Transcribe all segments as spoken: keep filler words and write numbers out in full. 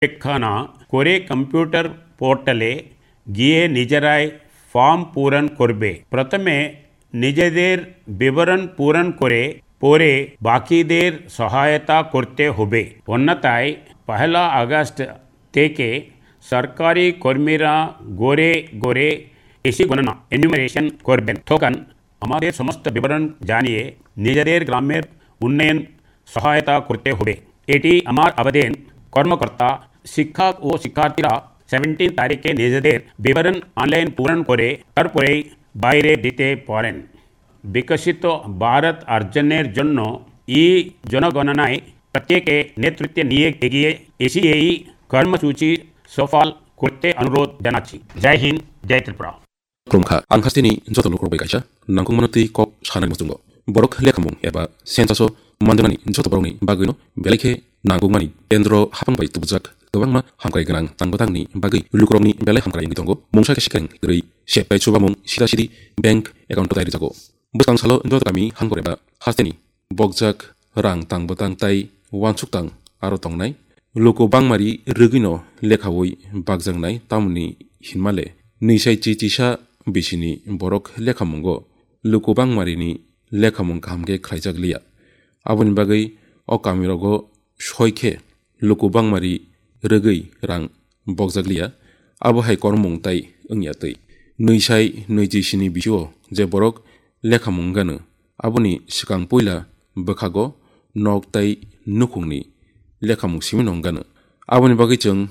অপেক্ষা না করে কম্পিউটার পোর্টালে গিয়ে নিজেরাই ফর্ম পূরণ করবে। প্রথমে নিজেদের বিবরণ পূরণ করে পরে বাকিদের সহায়তা করতে হবে, অন্যথায় পহেলা আগস্ট থেকে সরকারি কর্মীরা ঘরে ঘরে এসে গণনা, এনুমারেশন, করবেন। তখন আমাদের সমস্ত বিবরণ জানিয়ে নিজেদের গ্রামের উন্নয়ন সহায়তা করতে হবে। এটি আমার আবেদন। কর্মকর্তা, শিক্ষক ও শিক্ষার্থীরা সেভেন্টিন তারিখে নিজেদের বিবরণ অনলাইন পূরণ করে তারপরেই বাইরে দিতে পারেন। বিকশিত ভারত অর্জনের জন্য ই জনগণনায় প্রত্যেকে নেতৃত্ব নিয়ে এগিয়ে এসে এই কর্মসূচি সফল করতে অনুরোধ জানাচ্ছি। জয় হিন্দ, জয় Tripura. Khulumkha, ang hasteni joto lukurok bai kaisa nangkukmano twi kok sanani muchungo. Borok lekhamung eba census-o manjaknani joto borokni bagwino belai khe nangkukmani kendro haphang bai tubujak kwbangma hamkrai gwnang tangbwtangni bagwi lukurokni belai hamkrai wngwi tongo. Mungsa khe sikareng kwrwi septai chubamung sida sidi bank account-o tai rwjago. Bwskang salo joto kami hamkrai ba hasteni bokjak rang tangbwtang tai uansuk tang aro tongnai. Luku bangmari rwgwino lekhaui bakjaknai, tamoni hinmale nwisai chi chisa bisini borok lekhamungo luku bangmarini lekhamung kaham khe khlaijak liya. Aboni bagwi o kamirogo soi khe luku bangmari rwgwi rang bokjak liya. Abo hai kormung tai wngya twi. Nwisai nwichi sini bisio je borok lekhamung gano, aboni swkang puila bwkhago nok tai nukhungni lekhamung simi nong gano. Aboni bagwi chwng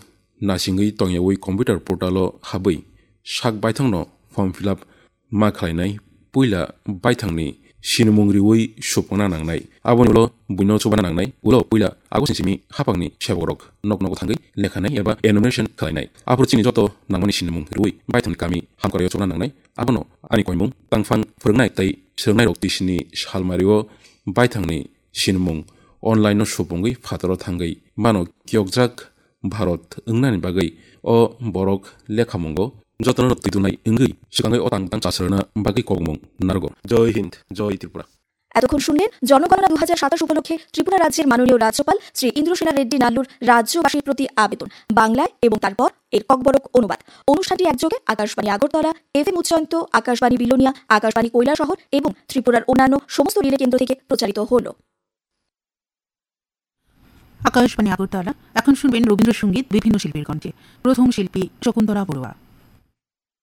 nasingwi tongyaui computer portal-o habwi sak baithangno form fill up ma khlainai, puila baithangni sinimung riui supungna nangnai. Aboni ulo buino chubana nangnai, ulo puila agusni simi haphangni sebakrok nok nogo thangwi lekhanai eba enumeration khlainai. Aphuru chini joto nangmani sinimung riui baithangni kami hamkrai-o chubana nangnai. Abono ani koimung tangphang phwrwngnai tei swrwngnairok tisini salmario baithangni sinimung online-o supungwi phataro thangwi mano kiyokjak Bharat wngnani bagwi o borok lekhamungo jotono twi tunai wngwi swkangwi o tang tang chasrwna bagwi kokmung narwgo. Jai Hind, Jai Tripura. এতক্ষণ শুনলেন জনগণনা দু হাজার সাতাশ উপলক্ষে ত্রিপুরা রাজ্যের মাননীয় রাজ্যপাল শ্রী ইন্দ্রসেনা রেড্ডি নাল্লুর রাজ্যবাসীর প্রতি আবেদন, বাংলায় এবং তারপর এর ককবরক অনুবাদ। অনুষ্ঠানটি একযোগে আকাশবাণী আগরতলা, এফএম উচ্চয়ন্ত, আকাশবাণী বিলোনিয়া, আকাশবাণী কৈলাসহর এবং ত্রিপুরার অন্যান্য সমস্ত রিলে কেন্দ্র থেকে প্রচারিত হলো। আকাশবাণী আগরতলা। এখন শুনবেন রবীন্দ্রসঙ্গীত বিভিন্ন শিল্পীর কণ্ঠে। প্রথম শিল্পী শকুন্তলা বড়ুয়া।